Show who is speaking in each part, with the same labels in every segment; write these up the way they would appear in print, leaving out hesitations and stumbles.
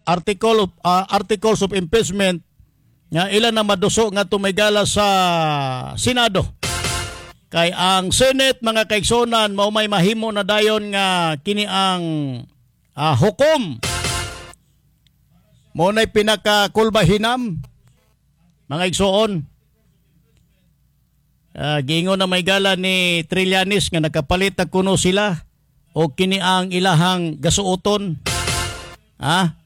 Speaker 1: Articles of impeachment nga ilan na maduso nga tumigala sa Senado. Kay ang Senate, mga kaigsunan, mao may mahimo na dayon nga kini ang hukom. Mao nay pinakakulbahinam, mga igsoon. Giingon na may gala ni Trillanes nga nakapalit na kuno sila o kini ang ilahang gasuoton. Ha?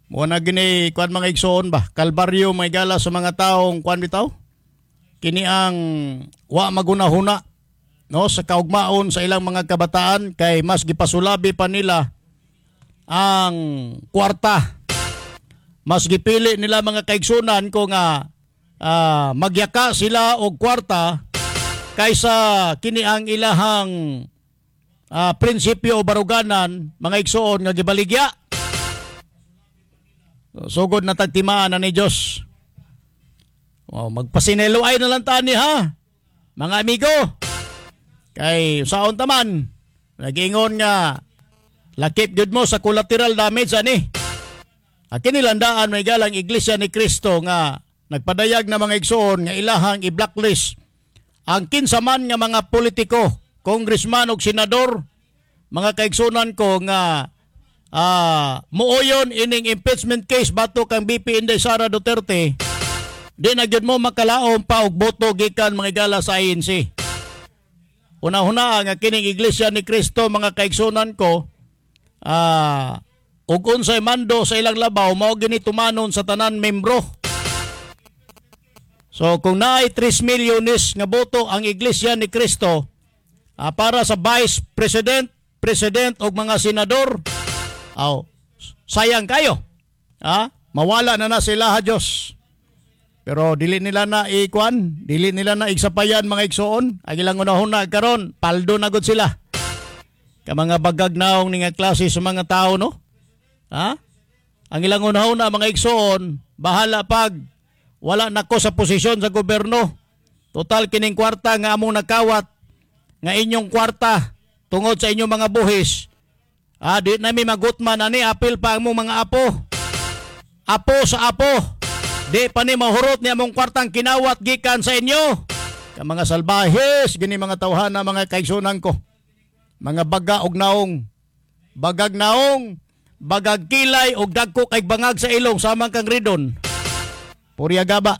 Speaker 1: Mo na gini kuan, mga igsoon ba? Kalbaryo may gala sa mga taong kuan bitaw. Kini ang wa magunahuna, no, sa kaugmaon sa ilang mga kabataan kay mas gipasulabi pa nila ang kwarta. Mas gipili nila, mga kaigsunan ko, nga magyaka sila og kwarta kaysa kini ang ilahang prinsipyo o baruganan, mga igsoon, nga gibaligya. Sugod na tagtimaan na ni Diyos. Oh, magpasinelo ay na lang tani ha, mga amigo. Kay saon taman, nagingon nga lakip gyud mo sa collateral damage ani. Akin nilandaan may galang Iglesia ni Cristo nga nagpadayag na, mga igsoon, nga ilahang i-blacklist ang kinsa man nga mga politiko, congressman ug senador, mga kaigsunan ko, nga muoyon ining impeachment case batok kang VP Inday Sara Duterte, di na gyud mo makalaom pa og boto gikan mga igala sa ANC. Una-una nga kining Iglesia ni Cristo, mga kaigsunan ko, ug unsay mando sa ilang labaw mao gini tumanon sa tanan membro. So kung naay 3 milyones nga boto ang Iglesia ni Cristo para sa vice president, president ug mga senador, aw, sayang kayo. Ha? Mawala na na sila ha Diyos. Pero dili nila na ikuan, dili nila na igsapayan, mga igsoon. Ang ilang unahuna karon, paldo na gud sila. Ka mga bagag naong ni nga klase sa mga tao, no? Ha? Ang ilang unahuna, mga igsoon, bahala pag wala nako sa posisyon sa gobyerno. Total kining kwarta nga among nakawat nga inyong kwarta tungod sa inyong mga buhis. Ah, di nami magutman ani, apil pa ang among mga apo. Apo sa apo. Di pa ni mahurot ni among kwartang kinawat gikan sa inyo. Ka mga salbahes, gini mga tawhana, mga kaigsunan ko. Mga baga og naong. Bagag naong, bagag kilay og dagko kay bangag sa ilong samang kang Ridon. Purya gaba.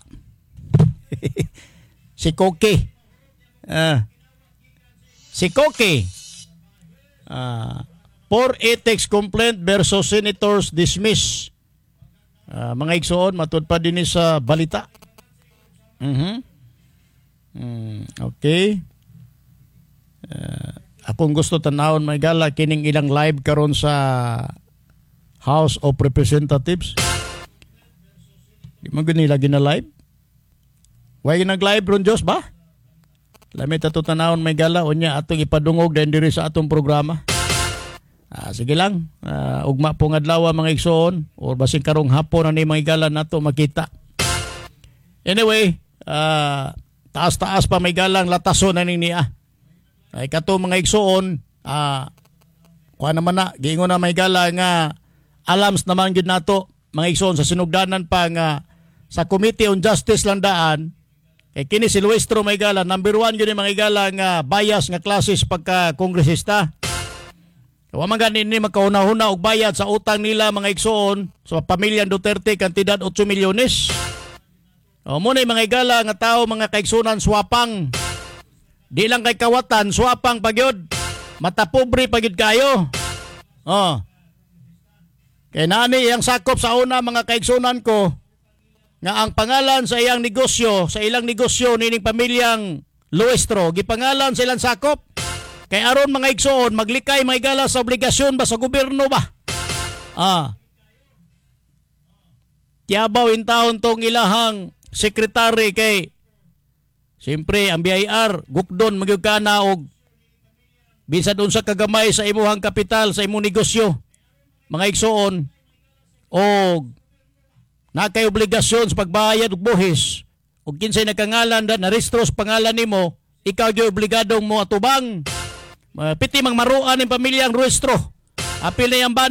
Speaker 1: Si Koki. Ah. Si Koki. Ah, for ethics complaint versus senators dismiss. Ah, mga igsoon, matud pa din sa balita. Okay. Akong gusto tanawon may gala kining ilang live karon sa House of Representatives. Di man gud nila gina live. Way nag-live ron Diyos ba? Lami tato tanawon may gala unya atong ipadungog din diri sa atong programa. Ah, sige lang. Ugma po nga adlaw, mga igsoon, or basin karong hapon na ni mga igala nato makita. Anyway, taas-taas pa may galang lataso na ning niya. Ay kato, mga igsoon, kuha naman na, giingon na may gala nga alams naman gid nato, mga igsoon, sa sinugdanan pa nga sa Committee on Justice lang daan kay kini si Luistro may gala number 1 yun yung mga igala nga bias nga klases pagka kongresista. Wa man gani ni magkauna-huna og bayad sa utang nila, mga igsoon, sa pamilyang Duterte kantidad 8 milyones. O mo na mga igala nga tao, mga kaigsunan, swapang. Di lang kay kawatan, swapang pagyod. Matapobre pagyod kayo. Oh. Kay nani iyang sakop sa una, mga kaigsunan ko, nga ang pangalan sa iyang negosyo, sa ilang negosyo nining pamilyang Luistro, gipangalan sa ilang sakop. Kay aron, mga igsoon, maglikay mga igala sa obligasyon ba sa gobyerno ba? Ah. Tiyabaw in taon tong ilahang sekretary kay siyempre ang BIR gukdon magyud ka na og bisan unsa kagamay sa imuhang kapital sa imong negosyo, mga igsoon, og nakay obligasyon sa pagbayad og buhis og kinsay nakangalan da narehistro sa pangalan nimo, ikaw gyud obligadong mo atubang. Piti mang maruan ning pamilyang Luistro, apil na yang bana.